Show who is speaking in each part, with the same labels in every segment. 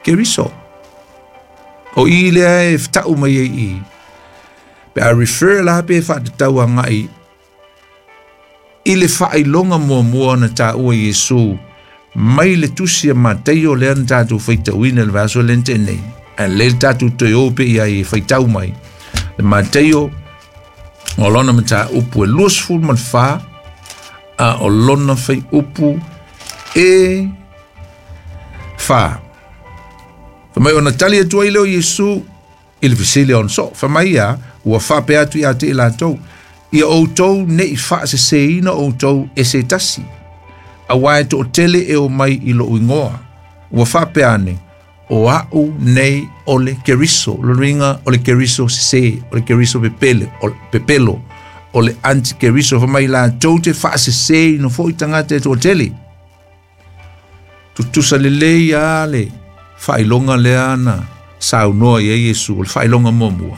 Speaker 1: Keriso. O i lea e fetau mai ai i i. Pe a refer la pe faatatau agai i le faailoga muamua na taua Iesu mai le tusi a Mataio lea na tatou faitauina i le vaiaso lea na tea nei. Ae lelei le tatou toe o pea i ai e faitau mai. Le Mataio o lona mataupu e 24 a o lona fuaiupu e 4. Fai mai ona tali atu ai lea o Iesu i le fesili a ona soo. Fai mai ia, ua faapea atu ia te i latou, Ia outou ne i faaseseina outou e se tasi, auā e toatele e omai i lou igoa, ua faapea ane, O a'u nei o le Keriso. O lona uiga, o le Keriso sesē, o le Keriso pepele, o le pepelo, o le antikeriso. Fai mai latou te faaseseina foi tagata e toatele. Tutusa lelei lava le faailoga lea na saunoa i ai Iesu, o le faailoga muamua.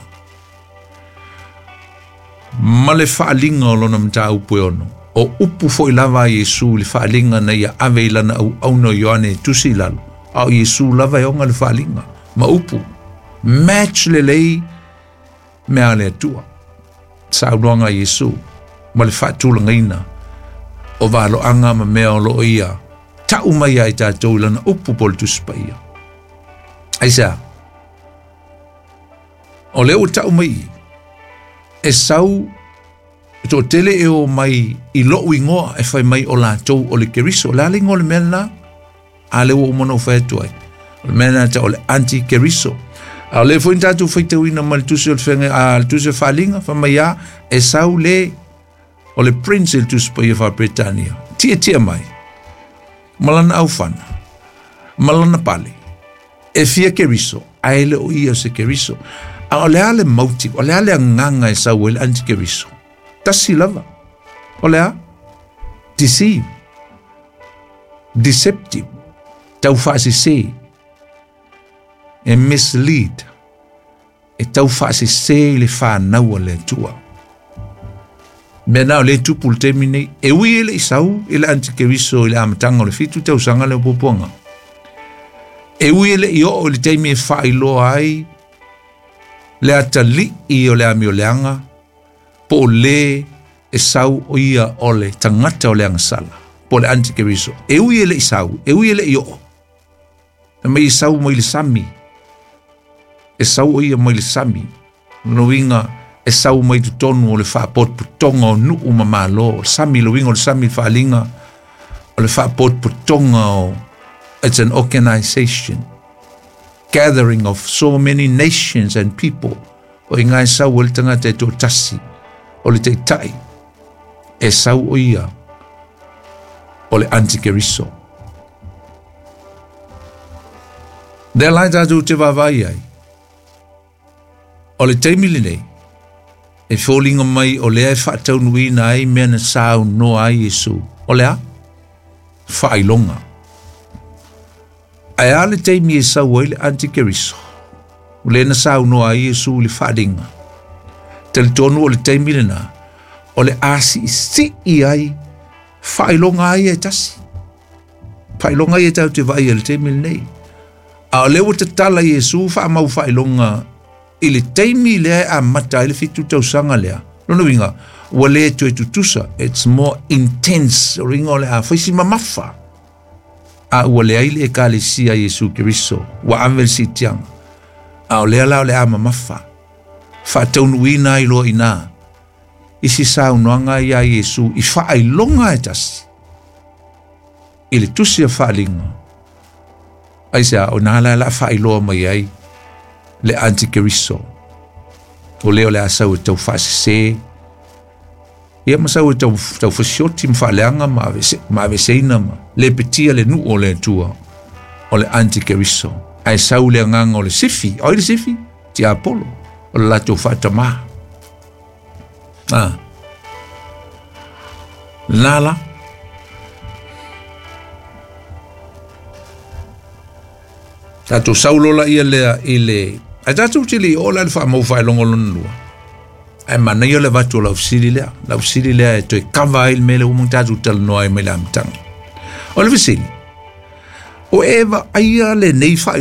Speaker 1: Ma le faaaliga o lona mataupu e ono. O upu foi lava a Iesu i le faaaliga na ia ave i lana auauna o Ioane e tusi i lalo, a o Iesu lava e ona le faaaliga, ma upu. Match lelei mea a le Atua. Saunoaga a Iesu ma le faatulagaina o valoaga ma mea o lo o ia tau mai ia i tatou i lana upu po o le Tusi Paia. Aisea? O lea ua tau mai i, e sau e toatele e o mai i lou igoa e fai mai o latou o le Keriso. O le a le igoa o le mea lena? A lea ua uma ona ou fai atu ai. O le mea lena e tau o le anti-Keriso. A o lea foi na tatou faitauina mai le tusi o le feagai, a le tusi o Faaaliga, fai mai a, e sau le o le prince i le tusi paia faa-Peretania, tietie mai, ma lana aufana, ma lana pale, e fia Keriso, ae e le o ia o se Keriso. A o le a le motive, o le a le agaga e sau ai le anti-Keriso? Tasi lava. O le a? Deceive. Deceptive. Taufaasese. E mislead. E taufaasese i le fanau a le Atua. Mea na o lea e tupu i le taimi nei. E ui e le i sau i le antikeriso i le amataga o le 7 tausaga lea o puapuaga. E ui e le i oo i le taimi e faailoa ai le atalii o le amioleaga po o le e sau o ia o le tagata o le agasala po o le antikeriso. E ui e le i sau, e ui e le i oo. E mai e sau mai le sami. E sau o ia mai le sami. Lona uiga, e sau mai totonu o le faapotopotoga o nuu ma malo. O le sami, le uiga o le sami, le faaaliga, o le faapotopotoga o, it's an organization, gathering of so many nations and people. O i ina e sau ai le tagata e toatasi, o le taitai, e sau o ia o le antikeriso. Lea la e tatou te vaavaai ai, o le taimi lenei, e foliga mai o lea e faataunuuina ai mea na saunoa ai Iesu. O le a? Faailoga. Ae a le taimi e sau ai le antikeriso? O lea na saunoa ai Iesu i le faaaliga. Talitonu o le taimi lena, o le a siisii ai faailoga ai e tasi. Faailoga ia tatou te vaai ai i le taimi lenei. A o lea ua tatala Iesu faamau faailoga i le taimi lea e amata ai le 7 tausaga lea. Lona uiga, ua le toe tutusa, it's more intense, o le uiga o le a fai si mamafa. A ua leai le Ekalesia a Iesu Keriso, ua ave le siitiaga. A o lea la o le a mamafa, faataunuuina ai loa i ina isi saunoaga ia a Iesu i faailoga e tasi i le tusi a Faaaliga. Aisea? O ina la o le a faailoa mai ai le antikeriso, o lea o le a sau e tau faasese, ia ma sau e tau, tau fasioti ma faaleaga ma avese, ma aveseina ma lepetia le nuu o le Atua, o le antikeriso. Ae sau le agaga o le sifi, o ai le sifi? Tiapolo, o le latou faatamā. Ah. Lena la. Tatou sau loa laia lea i le... Ae tatou te le i oo la i le faamau faailoga lona lua. Ae manaia le avatu o lau fesili lea. Lau fesili lea e toe kava ai le mea lea ua uma ona tatou talanoa ai mai le amataga. O le fesili, o e vaaia lenei faailoga?